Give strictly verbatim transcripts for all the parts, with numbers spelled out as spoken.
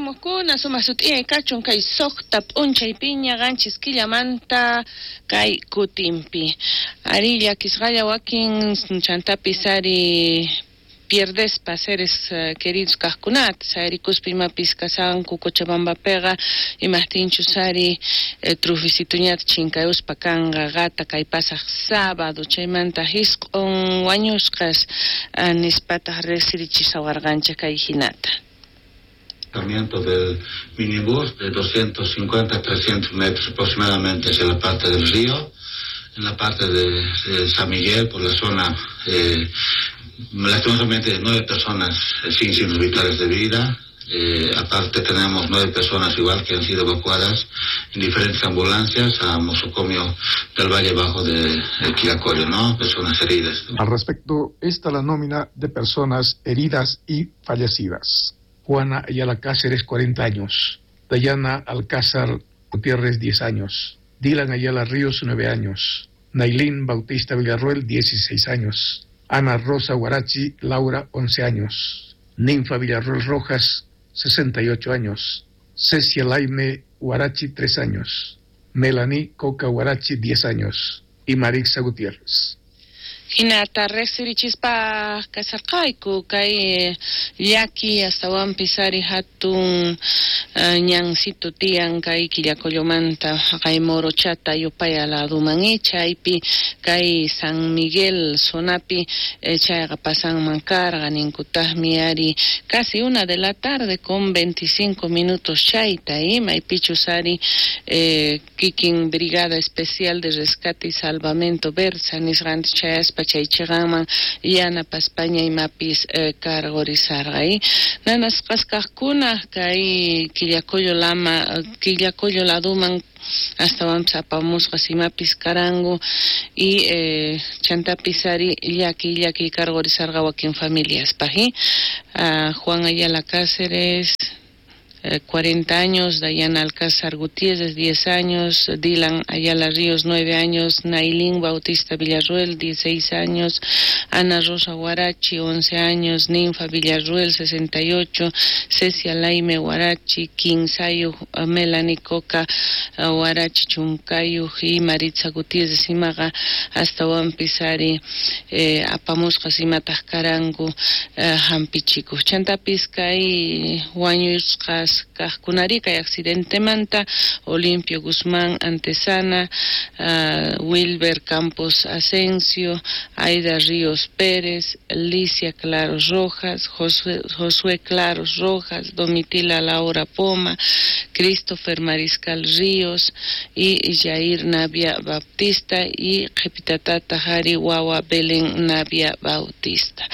Kutirimukuna sumaq sut'iyay kachun kay suqta p'unchay piña qanchis killamanta kay kutinpi. Ari llakisqalla wakin chantapis ari pierdespa seres uh, queridos kajkunata sayarikuspa imapis kasanku Cochabambapiqa imajtinchus ari eh, trufisituñata chinkayuspa kanqa qata kay pasaq sábado chaymanta hisq'un wañusqas uh, nispataq riqsirichisawarqanchik kay hinata. Del minibús de doscientos cincuenta a trescientos metros aproximadamente hacia la parte del río, en la parte de, de San Miguel, por la zona, eh, lastimosamente nueve personas eh, sin signos vitales de vida. Eh, aparte tenemos nueve personas igual que han sido evacuadas en diferentes ambulancias a Mosocomio del Valle Bajo de, de Quillacollo, ¿no? Personas heridas. Al respecto, está la nómina de personas heridas y fallecidas. Juana Ayala Cáceres, cuarenta años. Dayana Alcázar Gutiérrez, diez años. Dylan Ayala Ríos, nueve años. Nailín Bautista Villarruel, dieciséis años. Ana Rosa Guarachi Laura, once años. Ninfa Villarruel Rojas, sesenta y ocho años. Cecia Laime Guarachi, tres años. Melanie Coca Guarachi, diez años. Y Marixa Gutiérrez. Hinata riqsirichispa kasarqayku kay llaki astawanpis ari hatun uh, ñansito tiyan kay Quillacollomanta kay Morochata yupaya laduman chaypi kay San Miguel zonapi eh, chayqa pasanman karqa ninkutaqmi ari casi una de la tarde con veinticinco minutos chayta y maypichus ari eh, kikin Brigada Especial de Rescate y Salvamento Bersa nisqanchik chayaspa chaychiqanman yanapaspaña imapis eh, cargorizarqa y nanasqas kaqkuna kay Quillacollo lama Quillacollo laduman astawanpis apamusqas imapis karanku y eh, chantapis ari llaki llaki cargorizarqa wakin familiaspaq y uh, Juan Ayala Cáceres cuarenta años, Dayana Alcázar Gutiérrez, diez años, Dylan Ayala Ríos, nueve años, Nailín Bautista Villarruel, dieciséis años, Ana Rosa Guarachi, once años, Ninfa Villarruel, sesenta y ocho, Cecia Laime Guarachi, Quinsayo, Melanie Coca Guarachi, Chuncayo y Maritza Gutiérrez, imaqa astawanpis ari eh, apamusqas imataq karanku eh, hampichikuq. Chantapis kay wañusqas kaqkunari kay accidentemanta Olimpio Guzmán Antesana, uh, Wilber Campos Asensio, Aida Ríos Pérez, Licia Claros Rojas, Josué, Josué Claros Rojas, Domitila Laura Poma, Christopher Mariscal Ríos y Jair Navia Bautista y Qhipitatata Jari Wawa Belén Navia Bautista.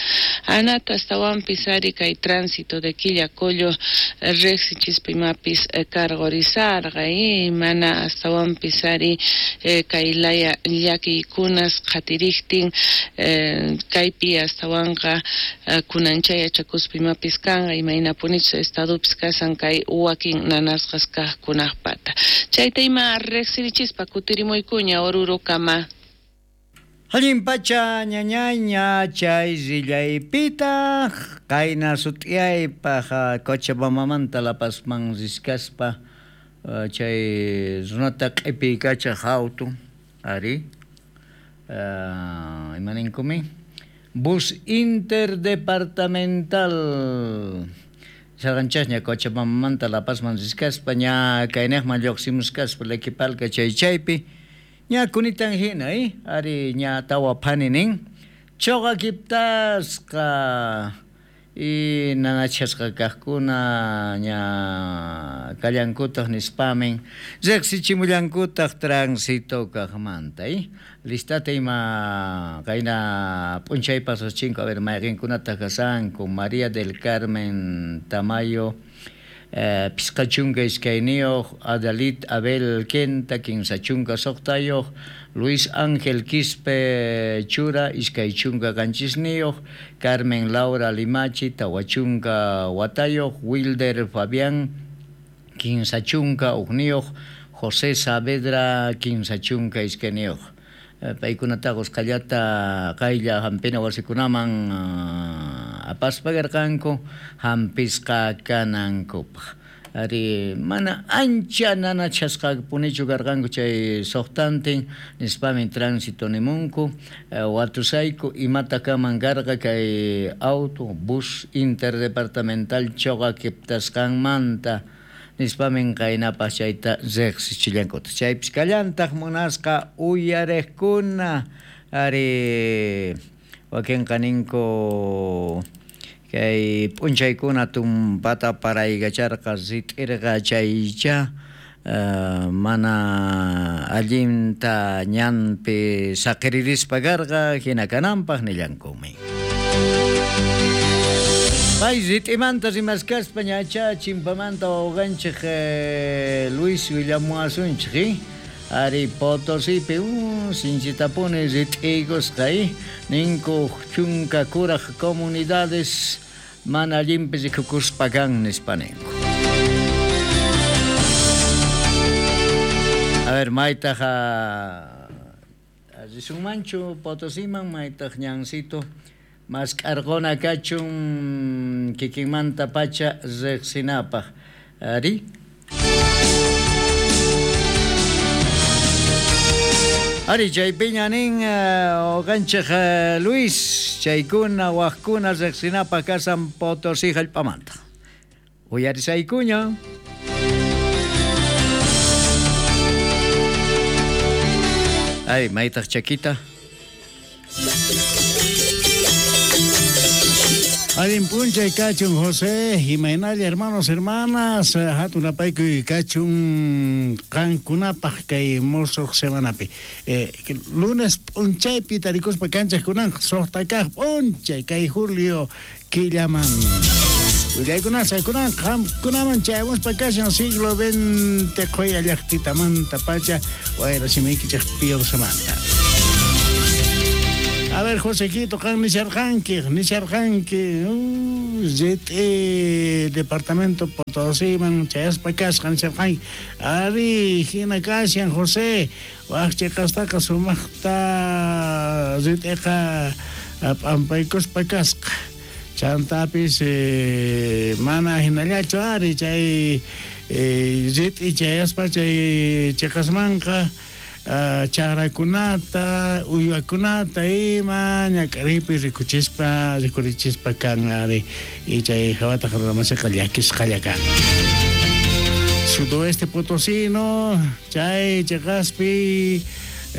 Anata astawanpis ari kay tránsito de Quillacollo riqsichispa imapis cargorizarqa y mana astawanpis ari kay laya llakiykunas qhatiriktin kaypi astawanqa kunanchay yachakuspa imapis kanqa imaynapunichus estadopis kasan kay wakin nanasqas kaqkunaqpata. Chayta ima riqsirichispa kutirimuykuña Orurokama. Allin pacha ñañaña chay rillaypita qayna sut'iyaypaq Cochabambamanta La Pazman riskaspa chay runata q'ipiykacha auto ari uh, imaninkumi bus interdepartamental sarqanchasña Cochabambamanta La Pazman riskaspa ña kaynaqman lluqsimuskaspa Lequipalca chay chaypi ña kunitan hina, eh? Ari ña tawa phani nin. Choqa kiptasqa y nanachasqa kaqkuna ña kallankutaq nispamin riqsichimullankutaq tránsito kaqmanta, eh? Listata ima qayna p'unchaypas chinko a ver mayqinkunataq kasanku María del Carmen Tamayo Eh, pisqa chunka iskayniyuq, Adalit Abel Kenta, kinsa chunka suqtayuq, Luis Ángel Quispe Chura, iskay chunka qanchisniyuq, Carmen Laura Limachi, tawa chunka watayuq, Wilder Fabián, kinsa chunka uqniyuq, José Saavedra, kinsa chunka iskayniyuq. Eh, paykunataqa usqhallata qaylla hampina wasikunaman uh, apaspa karqanku hampisqa kanankupaq. Ari mana ancha nanachasqapunichu karqanku chay suqtantin nispamin tránsito nimunku watusayku imata kaman karqa kay auto bus interdepartamental choqakiptasqanmanta nispamin qaynapaq chayta riqsichillankuta chaypis kallantaq munasqa uyariqkuna ari wakinqa ninku kay p'unchaykuna tumpata paraykacharqa rit'irqa chaycha uh, mana allinta ñanpi saqiririspa karqa hina kananpaq nillankumi. Pay rit'imanta rimaskaspa ñacha chimpamanta wawqanchik eh, Luis willamuwasunchik eh? Ari Potosipi uh, sinchitapuni rit'iykusqa eh? Ninku chunka kuraq comunidades mana allinpi rikukuspa kan nispa ninku. A ver, maytaq risunmanchu Potosiman maytaq ñancito mask'arquna kachun kikinmanta pacha riqsinapaq. Ari Ari chaypiña nin uqanchik uh, Luis chaykuna waqkuna riqsinapaq kasan Potosí hallp'amanta. Uyarisaykuña. Ay, maytaq chakita. Allin p'unchay kachun José, imaynalla hermanos, hermanas, hatun apaykuy kachun qankunapaq kay musuq semanapi. Eh, lunes p'unchaypi tarikuspa kanchaqkunan suqta kaq p'unchay kay julio killaman. Willaykunan saykunan qamkunaman chayamuspa kashan siglo veinte qhuya llaqtitamanta pacha wayra simiykichik Piorsamanta. A ver, Josequito, qan nisharqanki, nisharqanki, rit'i departamento Potosiman chayaspa kasqa nisharqanki. Ari, hina kashan José, waq chiqastaqa sumaqta rit'iqa p'ampaykuspa kasqa. Chantapis eh, mana hinallachu ari chay eh, rit'i chayaspa chay chiqasmanqa Uh, charakunata, uywakunata ima ñak'aripi rikuchispa, rikurichispa kan ari y chay hawataq runamasiqa llakisqalla kan. Sudoeste potosino, chay chiqaspi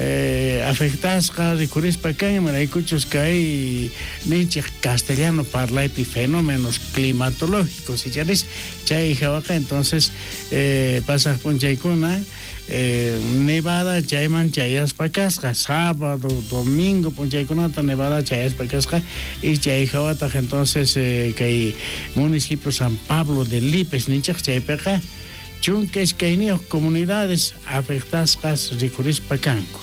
eh, afectasqa rikurispa kan imaraykuchus kay ninchik castellano parlaypi fenómenos climatológicos y charis chay hawaqa entonces eh, pasaq p'unchaykuna Eh, nevada chayman chayaspa kasqa sábado, domingo p'unchaykunata nevada chayaspa kasqa y chay hawataq entonces eh, kay municipio San Pablo de Lipes ninchik chaypiqa chunka iskayniyuq comunidades afectasqas rikurispa kanku.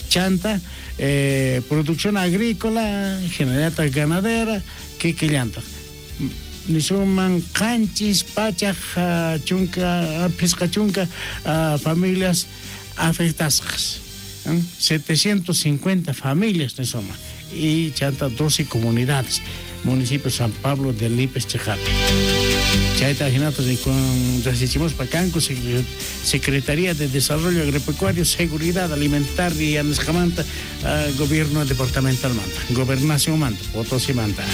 Chanta eh, producción agrícola, generata ganadera, kikillantaq nisuman qanchis pachaq chunka phisqa chunka uh, familias afectasqas, ¿eh? setecientas cincuenta familias nisuman y chanta doce comunidades municipio San Pablo de Lipes chiqapi. Chayta hinata con resichimuspa kanku Secretaría de Desarrollo Agropecuario, Seguridad Alimentaria nisqamanta uh, Gobierno Departamental manta, Gobernación manta, Potosí manta.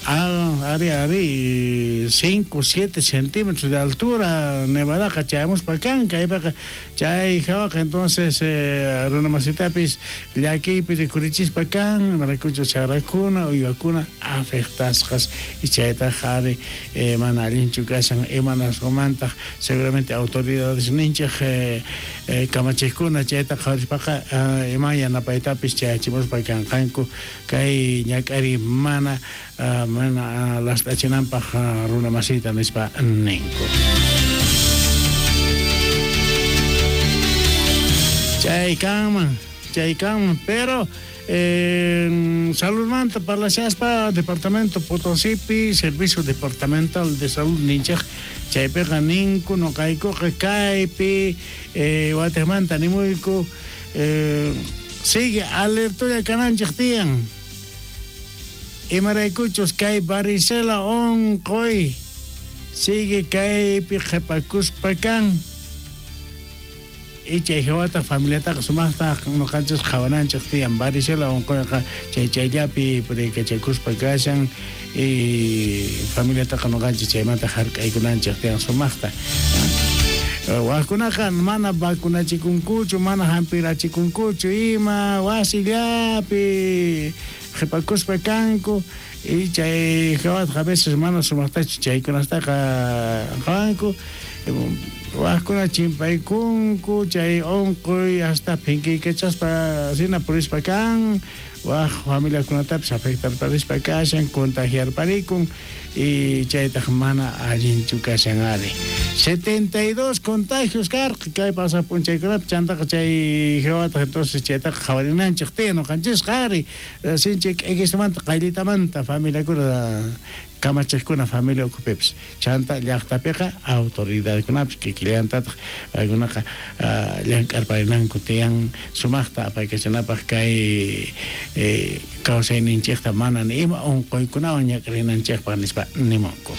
Ah, ari, ari, cinco, siete centímetros de altura, nevadaqa chayamuspa kanka, aypaqa chay hawaqa entonces eh, runamasitapis llakiypi rikurichispa kan, imaraykuchus charakuna, uywakuna afectasqas y chaytaq ari eh, mana allinchu kashan imanasqamantaq seguramente autoridades ninchik eh, eh, kamachiqkuna chayta qhawarispaqa eh, ima yanapaytapis chayachimuspa kanqanku kay ñak'ari mana Uh, mana last'achinanpaq uh, runamasita nispa ninku. Chay kanman, chay kanman, pero eh, saludmanta parlashaspa Departamento Potosipi, Servicio Departamental de Salud ninchik chaypiqa ninku nuqaykuqa kaypi eh, watijmanta nimuyku eh, sigue alertolla kananchik tiyan. Imaraykuchus kay varicela onqoy Sigue kaypi qhipakuspa kan. Y chay hawata familiataqa sumaqta nuqanchis qhawananchik tiyan varicela unquyqa chay chayllapi puriykachakuspa kashan y familiataqa nuqanchis chaymanta hark'aykunanchik tiyan sumaqta. Wajkunaqa mana vacunachikunkuchu, mana hampirachikunkuchu ima wasillapi qhipakuspa kanku y chay hawataqa a veces mana sumaqtachu chaykunastaqa qhawanku. Wajkuna chimpaykunku chay unquy hasta phinkiykachaspa hina purispa kan waj familiakunatapis afectarparispa kashan contagiarparikun y chaytaq mana allinchu kashan ari. setenta y dos contagios karqa kay pasaq p'unchaykunapi chantaqa chay hawataq entonces chaytaqa qhawarinanchik tiyan nuqanchisqa ari sinchi k'ikismanta qayllitamanta familiakuna kamachiqkuna familia ukhupipis chanta llaqtapiqa autoridadkunapis kikillantataq paykunaqa llank'arparinanku tiyan sumaqta apaykachanapaq kay eh, kawsayninchikta mana ni ima unquykunawan ñak'arinanchikpaq nispa nimunku.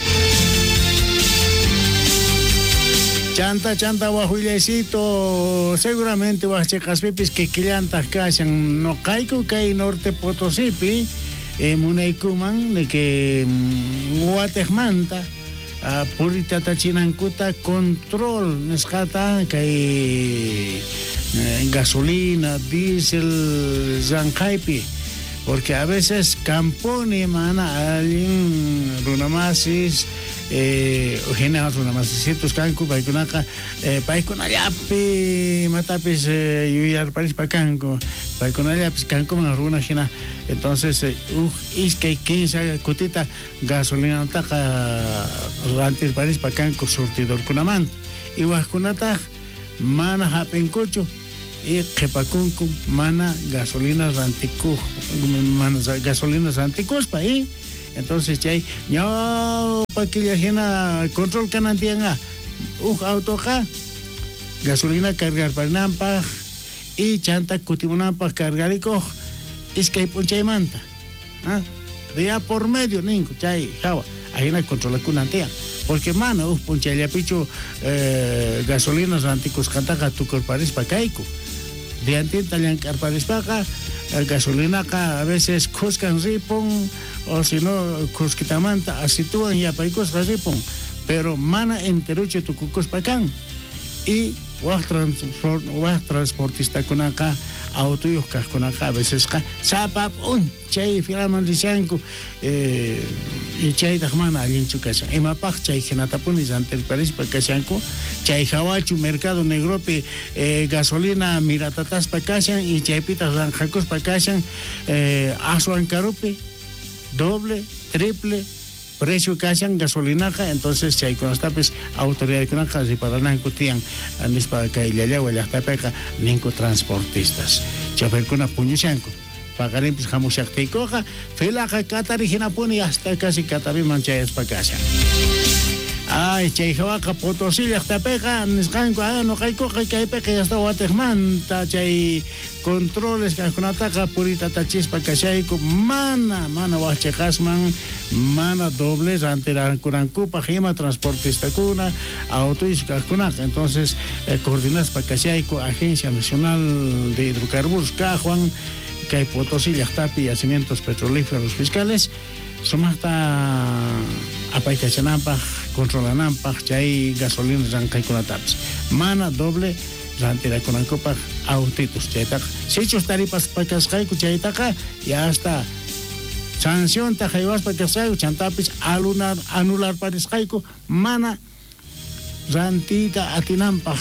Chanta, chanta, wajullaycito, seguramente wajchiqaspipis kikillantaq kashan nuqayku kay Norte Potosipi eh, munaykuman de que watejmanta uh, puritatachinankuta control nisqata kay eh, gasolina, diésel llanqaypi, porque a veces camponi mana allin runamasis eh hina runamasisitos kanku paykunaqa eh, paykunallapi imatapis eh, yuyarparispa kanku paykunallapis kankuman runa hina entonces eh, uj iskay kinsa kutita gasolinataqa rantirparispa kanku surtidorkunamanta y wajkunataq mana hap'inkuchu y qhipakunku mana gasolina rantikuj mana gasolina rantikuspa y entonces chay ñawpa killa hina control kanan tiyanqa uj autoqa gasolina cargarparinanpaq y chanta kutimunanpaq cargarikuq iskay p'unchaymanta ¿ah? Día por medio ninku chay hawa ahina controlakunan tiyan porque mana uj p'unchayllapichu eh, gasolina rantikusqantaqa tukurparispa kayku diantinta llank'arparispaqa gasolinaqa a veces khuskan ripun o si no khuskitamanta asituwan yapaykusqa ripun pero mana enteruchu tukukuspa kan y waj transport waj transportistakunaqa autoyuq kaqkunaqa a vecesqa sapa p'unchay filaman rishanku eh, y chaytaq mana allinchu kashan imapaq chay hinatapuni rantirparispa kashanku chay hawachu mercado negropi eh, gasolina miratataspa kashan y chaypitaq ranqakuspa kashan eh, aswan karupi doble, triple precio kashan gasolinaqa entonces chaykunastapis autoridadkunaqa riparananku tiyan nispa kay Llallawa llaqtapiqa ninku transportistas choferkuna puñushanku paqarinpis hamushaqtiykuqa filaqa katari hinapuni hasta casi Cataviman chayaspa kashan. Ay, chay hawaqa Potosí llaqtapiqa nisqanku ah nuqaykuqa kaypiqa hasta watejmanta chay controles kaqkunataqa puritatachispa kashayku mana mana wajchiqasman mana doble rantirankunankupaq ima transportistakuna autoyuq kaqkunaqa entonces eh, coordinaspa kashayku Agencia Nacional de Hidrocarburos kaqwan kay Potosí llaqtapi yacimientos petrolíferos fiscales sumaqta apaykachananpaq controlananpaq chay gasolina ranqaykunatapis mana doble rantirakunankupaq autitos chaytaqa sichus taripaspa kasqayku chaytaqa ya hasta sancionta haywaspa kasqayku chantapis alunar anularparisqayku mana rantiyta atinanpaq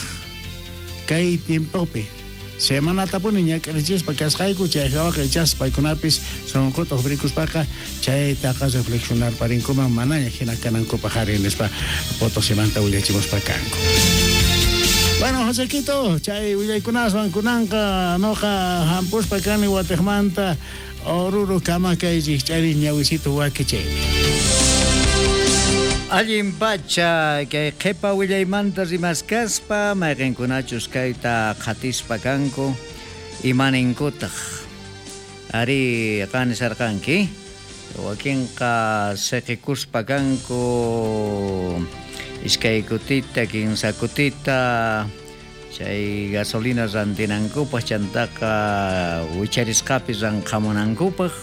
kay tiempopi semanatapuni ñak'arichispa kasqayku chay hawaqa ichaspa paykunapis sunquta uqrikuspaqa chaytaqa reflexionarparinkuman manaña hina kanankupaq ari nispa Potosimanta willachimuspa kanku. Bueno, Josequito, chay willaykunaswan kunanqa noqa hampuspa kani watejmanta Oruro kama kay rikch'ari ñawisito wakichaymi. Allin pacha kay qhipa willaymanta rimaskaspa mayqinkunachus kayta qhatispa kanku imaninkutaq ari qanisarqanki wakinqa siqikuspa kanku Iskay kutita, kinsa kutita chay gasolina rantinankupaq chantaqa wicharisqapi ranqamunankupaq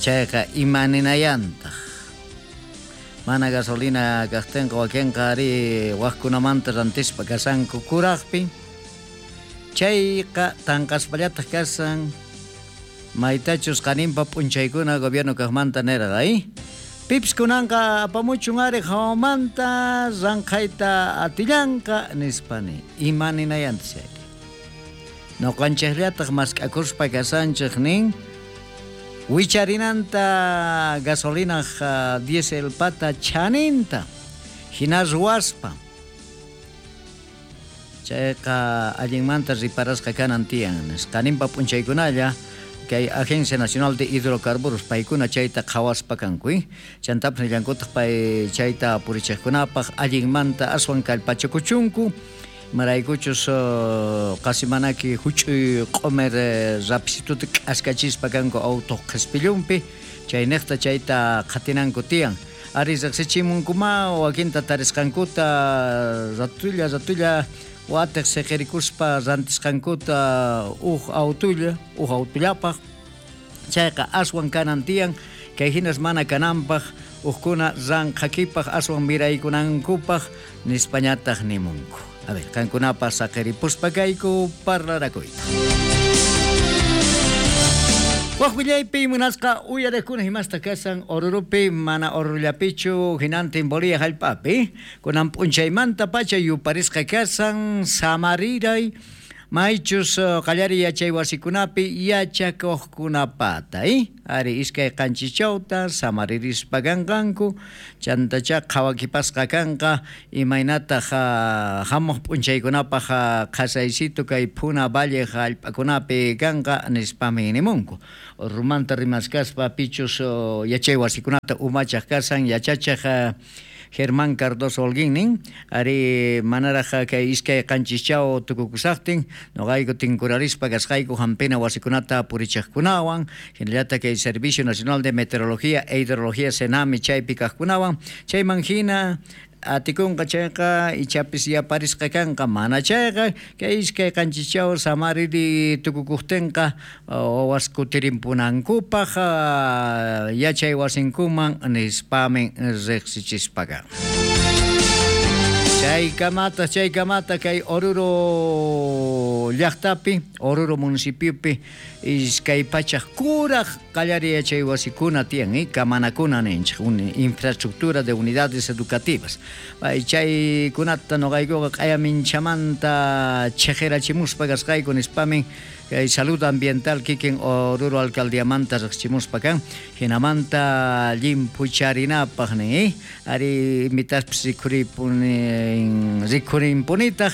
chayqa imaninayantaq mana gasolina kaqtinqa wakinqa ari waqkunamanta rantispa kasanku kuraqpi chayqa tanqaspallataq kasan maytachus qaninpa p'unchaykuna gobierno kaqmanta nirqa eh Pips kunanqa apamuchun ari hawamanta ranqayta atillanqa nispani imaninayanta chayri noqanchikllataq mask'akuspa kasanchik nin wicharinanta gasolinaq diesel pata chaninta hina ruwaspa chayqa allinmanta riparasqa kanan tiyan qaninpa p'unchaykunalla kay Agencia Nacional de Hidrocarburos paykuna chayta qhawaspa kanku chantapis nillankutaq pay chayta purichiqkunapaq allinmanta aswan kallpachakuchunku maraykuchus qasi manaki huch'uy q'umir rapisituta k'askachispa kanku auto qhispillunpi chayniqta chayta qhatinanku tiyan ari riqsichimunkuma wakinta tarisqankuta ratulla ratulla watiq siqirikuspa rantisqankuta uj autulla uj autullapaq chayqa aswan kanan tiyan kay hinas mana kananpaq ujkuna ranqhakipaq aswan miraykunankupaq nispañataq nimunku. A ver, qankunapaq saqiripuspa kayku parlarakuyta. Waq willaypi munasqa uyariqkuna himasta kasan Orurupi mana Orurullapichu hinantin Bolivia hallp'api kunan p'unchaymanta pacha yuparisqa kasan samariray maychus qallariy yachay wasikunapi yachakuqkunapata eh? Ari iskay qanchischawta samaririspa kanqanku chantacha qhawakipasqa kanqa imaynataq hamuq p'unchaykunapaq qhasaysitu kay Puna Valle hallp'akunapi kanqa nispami nimunku Orurumanta rimaskaspa pichus yachay wasikunata umachaq kasan yachachaq Germán Cardoso Holguín nin ari manaraq kay iskay qanchischaw tukukusaqtin noqayku tinkurarispa kasqayku hampina wasikunata purichiqkunawan hinallataq kay Servicio Nacional de Meteorología e Hidrología SENAMI chaypi kaqkunawan chayman hina atikunqa chayqa ichapis yaparisqa kanqa mana chayqa kay iskay qanchischaw samariri tukukuqtinqa wawas kutirimpunankupaq yachay wasinkuman nispamin riqsichispaqa. Chaykamata chaykamata kay Oruro llaqtapi Oruro municipiopi iskay pachaq kuraq qallariy yachay wasikuna tiyan eh, kamanakuna ninchik infraestructura de unidades educativas chaykunata noqaykuqa q'ayaminchamanta chhiqirachimuspa kasqayku nispamin kay salud ambiental kikin Oruro alcaldiamanta riqsichimuspa kan hinamanta llimphucharinapaq nin eh? Ari invitaspis rikhuripunin rikhurinpunitaq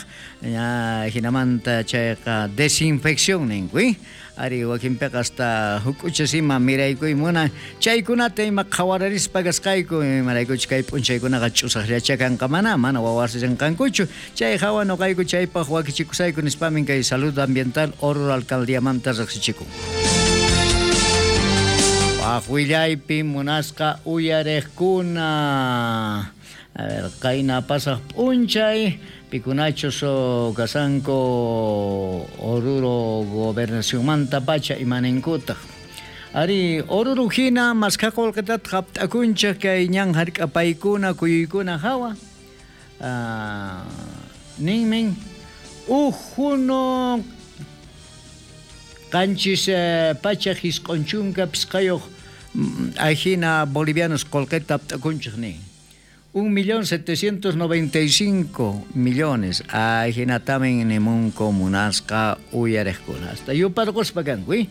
hinamanta chayqa desinfección ninku eh? Ari wakinpiqa hasta huk'uchas ima miraykuy munan chaykunata ima qhawararispa kasqayku imaraykuchus kay p'unchaykunaqa ch'usaqllacha kanqa mana mana wawas rinqankuchu chay hawa noqayku chaypaq wakichikusayku nispamin kay salud ambiental Oruro alcaldiamanta riqsichikun. Waq willaypi munasqa uyariqkuna a ver qayna pasaq p'unchay pikunachus kasanku Oruro gobernacionmanta pacha imaninkutaq ari Oruro hina maskha qullqitataq hapt'akunchik kay ñan hark'apaykuna kuyuykuna hawa ninmin uj huno qanchis pachaq isq'un chunka pisqayuq ajina bolivianos qullqita hapt'akunchik nin Un millón setecientos noventa y cinco millones. Ajinatamin nimunku munasqa uyariqkuna. Hasta yuparquspa kanku, eh?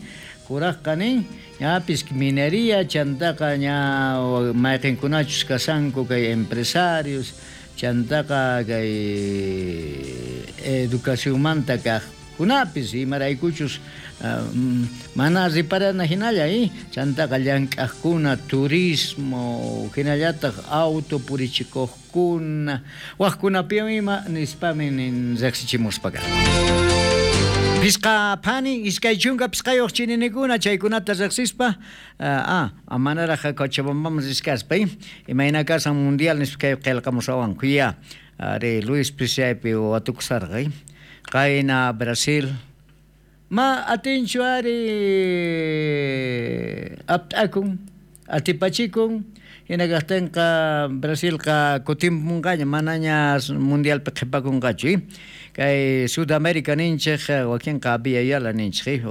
Kuraqqa nin, ñapis minería chantaqa ña mayqinkunachus kasanku kay empresarios, chantaqa kay educacionmanta kaqkunapis imaraykuchus mana riparana hinalla eh? Chantaqa llank'aqkuna turismo hinallataq auto purichikuqkuna waqkunapiwan ima nispami nin riqsichimuspa kan. Pisqa phani iskay chunka pisqayuq chininikuna chaykunata riqsispa ah manaraq Cochabambaman riskaspa imayna kasan mundial nispa kay qillqamusawanku ya ari Luis Pisaypi watukusarqa qayna Brasil ma atinchu ari apt'akun atipachikun hina kaqtinqa Brasilqa kutimpunqaña manaña mundialpi qhipakunqachu kay Sudamérica ninchik wakinqa Abya Yala ninchik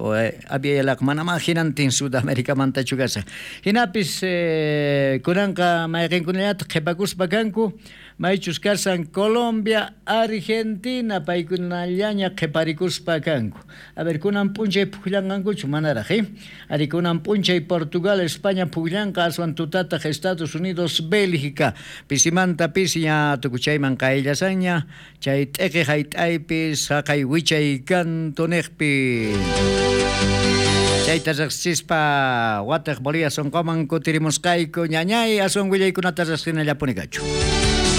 Abya Yalaqa manamá hinantin Sudamericamantachu kashan hinapis kunanqa mayqinkunallataq qhipakuspa kanku maychus kasan Colombia, Argentina paykunallaña qhiparikuspa kanku. A ver, kunan p'unchay pukllanqankuchu manaraq, eh? Ari kunan p'unchay Portugal, España pukllanqa aswan tutataq Estados Unidos, Bélgica. Pisimanta pisi ña tukuchayman qayllasanña chay t'iqi hayt'aypi saqay wichay kantuniqpi. Chayta riqsispa wataq Bolivia sonqoman kutirimusqayku ñañay aswan willaykunata riqsinallapuni kachu.